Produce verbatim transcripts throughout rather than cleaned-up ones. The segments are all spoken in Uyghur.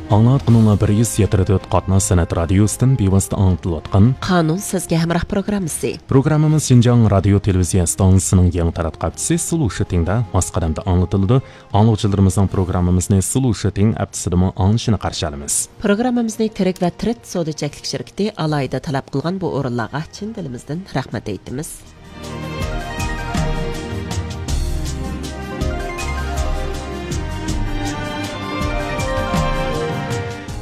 ئاڭلاۋاتقىنىڭلار بىر يۈز يەتتە تۆت قاتناش سەنئەت رادىيوسىدىن بىۋاسىتە ئاڭلىتىلىۋاتقان قانۇن سىزگە ھەمراھ پروگراممىسى. پروگراممىمىز شىنجاڭ رادىيو تېلېۋىزىيە ئىستانسىسىنىڭ يېڭى تاراتقۇ ھەپتىسى سلۇشىتىڭدا ماس قەدەمدە ئاڭلىتىلىدۇ. ئاڭلىغۇچىلىرىمىزنىڭ پروگراممىمىزنى سلۇشىتىڭ ئەپتىسىدىمۇ ئاڭلىشىنى قارشى ئالىمىز. پروگراممىمىزنى تىرىك ۋە تىرىت سودا چەكلىك شىركىتى ئالاھىدە تەلەپ قىلغان بۇ ئورۇنلارغا چىن دىلىمىزدىن رەھمەت ئېيتىمىز.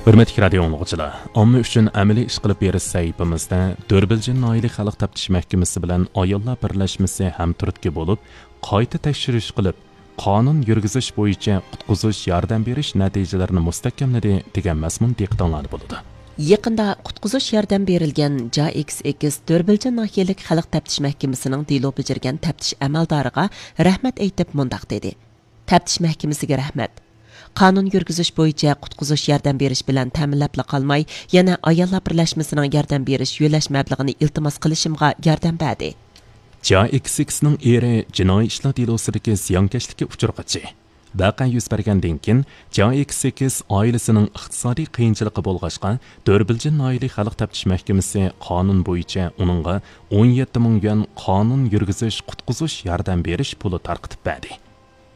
ھۆرمەتلىك رادىيو ئاڭلىغۇچىلار، ئامما ئۈچۈن ئەمەلىي ئىش قىلىپ بېرىش سەھىپىمىزدە دۆربىلجىن ناھىيەلىك خەلق تەپتىش مەھكىمىسى بىلەن ئاياللار بىرلەشمىسى ھەمتۈرتكە بولۇپ، قايتا تەكشۈرۈش قىلىپ، قانۇن يۈرگۈزۈش بويىچە قۇتقۇزۇش ياردەم بېرىش نەتىجىلىرىنى مۇستەھكەملىدى، دېگەن مەزمۇن دىققىتىڭلاردا بولىدۇ. يېقىندا قۇتقۇزۇش ياردەم بېرىلگەن جا ئېكس ئېكس دۆربىلجىن ناھىيەلىك خەلق تەپتىش مەھكىمىسىنىڭ دېلو بېجىرگەن تەپتىش ئەمەلدارىغا رەھمەت ئېيتىپ مۇنداق دېدى: تەپتىش مەھكىمىسىگە رەھمەت. قانۇن يۈرگۈزۈش بويىچە قۇتقۇزۇش ياردەم بېرىش بىلەن تەمىنلەپلا قالماي، يەنە ئاياللار بىرلەشمىسىنىڭ ياردەم بېرىش يۆلەش مەبلىغىنى ئىلتىماس قىلىشىمغا ياردەم بەردى. جا ئېكس ئېكسنىڭ ئېرى جىنايى ئىشلار دېلوسىدىكى زىيانكەشلىككە ئۇچرىغۇچى. ۋەقە يۈز بەرگەندىن كېيىن، جا ئېكس ئېكس ئائىلىسىنىڭ ئىقتىسادىي قىيىنچىلىقى بولغاچقا، دۆربىلجىن ناھىيەلىك خەلق تەپتىش مەھكىمىسى قانۇن بويىچە ئۇنىڭغا ئون يەتتە مىڭ يۈەن قانۇن يۈرگۈزۈش قۇتقۇزۇش ياردەم بېرىش پۇلى تارقىتىپ بەردى.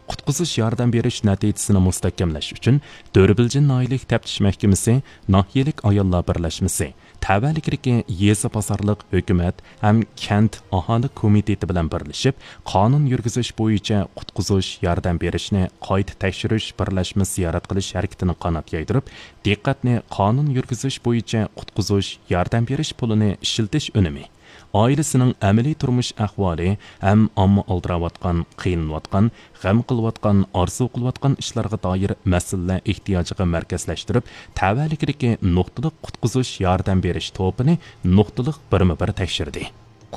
قۇتقۇزۇش ياردەم بېرىش نەتىجىسىنى مۇستەھكەملەش ئۈچۈن، دۆربىلجىن ناھىيەلىك تەپتىش مەھكىمىسى، ناھىيەلىك ئاياللار بىرلەشمىسى، تەۋەلىكىدىكى يېزا بازارلىق ھۆكۈمەت ھەم كەنت ئاھالە كومىتېتى بىلەن بىرلىشىپ، قانۇن يۈرگۈزۈش بويىچە قۇتقۇزۇش ياردەم بېرىشنى قايتا تەكشۈرۈش بىرلەشمە زىيارەت قىلىش ھەرىكىتىنى قانات يايدۇرۇپ، دىققەتنى قانۇن يۈرگۈزۈش بويىچە قۇتقۇزۇش ياردەم بېرىش پۇلىنى ئىشلىتىش ئۈنۈمى، ئائىلىسىنىڭ ئەمەلىي تۇرمۇش ئەھۋالى ھەم ئامما ئالدىراۋاتقان، قىينىلىۋاتقان، غەم قىلىۋاتقان، ئارزۇ قىلىۋاتقان ئىشلارغا دائىر مەسىلىلەر ئېھتىياجىغا مەركەزلەشتۈرۈپ، تەۋەلىكىدىكى نۇقتىلىق قۇتقۇزۇش ياردەم بېرىش توپىنى نۇقتىلىق بىرمۇ بىر تەكشۈردى.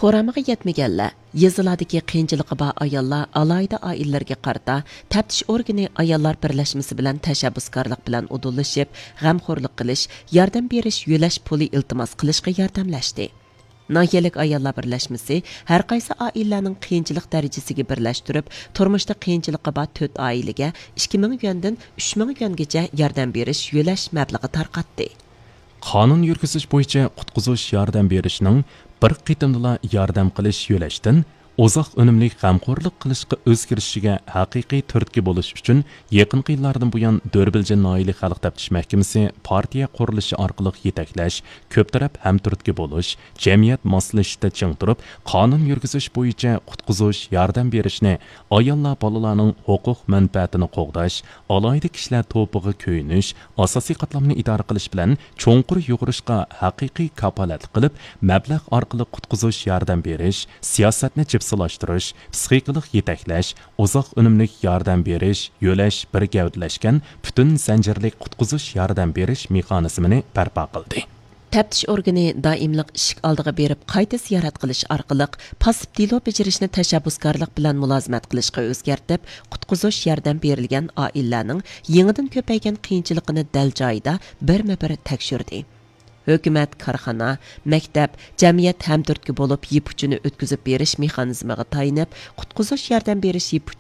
قورامىغا يەتمىگەنلەر، يېزىلاردىكى قىيىنچىلىقى بار ئاياللار، ئالاھىدە ئائىلىلەرگە قارىتا تەپتىش ئورگىنى ئاياللار بىرلەشمىسى بىلەن تەشەببۇسكارلىق بىلەن ئۇدۇللىشىپ، غەمخورلۇق قىلىش، ياردەم بېرىش، يۆلەش پۇلى ئىلتىماس قىلىشقا ياردەملەشتى. ناھىيەلىك ئاياللار بىرلەشمىسى ھەرقايسى ئائىلىلەرنىڭ قىيىنچىلىق دەرىجىسىگە بىرلەشتۈرۈپ، تۇرمۇشتا قىيىنچىلىقى بار تۆت ئائىلىگە ئىككى مىڭ يۈەندىن ئۈچ مىڭ يۈەنگىچە ياردەم بېرىش يۆلەش مەبلىغى تارقاتتى. قانۇن يۈرگۈزۈش بويىچە قۇتقۇزۇش ياردەم بېرىشنىڭ بىر قېتىمدىلا ياردەم قىلىش يۆلەشتىن ئۇزاق ئۈنۈملۈك غەمخورلۇق قىلىشقا ئۆزگىرىشىگە ھەقىقىي تۈرتكە بولۇش ئۈچۈن، يېقىنقى يىللاردىن بۇيان، دۆربىلجىن ناھىيەلىك خەلق تەپتىش مەھكىمىسى پارتىيە قۇرۇلۇشى ئارقىلىق يېتەكلەش، كۆپ تەرەپ ھەمتۈرتكە بولۇش، جەمئىيەت ماسلىشىشتا چىڭ تۇرۇپ، قانۇن يۈرگۈزۈش بويىچە قۇتقۇزۇش ياردەم بېرىشنى ئاياللار بالىلارنىڭ ھوقۇق مەنپەئەتىنى قوغداش، ئالاھىدە كىشىلەر توپىغا كۆيۈنۈش، ئاساسىي قاتلامنى ئىدارە قىلىش بىلەن چوڭقۇر يۇغۇرۇشقا ھەقىقىي كاپالەتلىك قىلىپ، مەبلەغ ئارقىلىق قۇتقۇزۇش ياردەم بېرىش، سىياسەتنى جىپسىلاشتۇرۇش، پىسخىكىلىق يېتەكلەش، ئۇزاق ئۈنۈملۈك ياردەم بېرىش، يۆلەش بىر گەۋدىلەشكەن پۈتۈن زەنجىرلىك قۇتقۇزۇش ياردەم بېرىش مېخانىزمىنى بەرپا قىلدى. تەپتىش ئورگىنى دائىملىق ئىشىك ئالدىغا بېرىپ قايتا زىيارەت قىلىش ئارقىلىق، پاسسىپ دېلو بېجىرىشنى تەشەببۇسكارلىق بىلەن مۇلازىمەت قىلىشقا ئۆزگەرتىپ، قۇتقۇزۇش ياردەم بېرىلگەن ئائىلىلەرنىڭ يېڭىدىن كۆپەيگەن قىيىنچىلىقىنى دەل جايىدا بىرمۇ بىر تەكشۈردى. ھۆكۈمەت، كارخانا، مەكتەپ، جەمئىيەت ھەمتۈرتكە بولۇپ يىپ ئۇچىنى ئۆتكۈزۈپ بېرىش مېخانىزمىغا تايىنىپ، قۇتقۇزۇش ياردەم بېرىش يىپ ئۇچى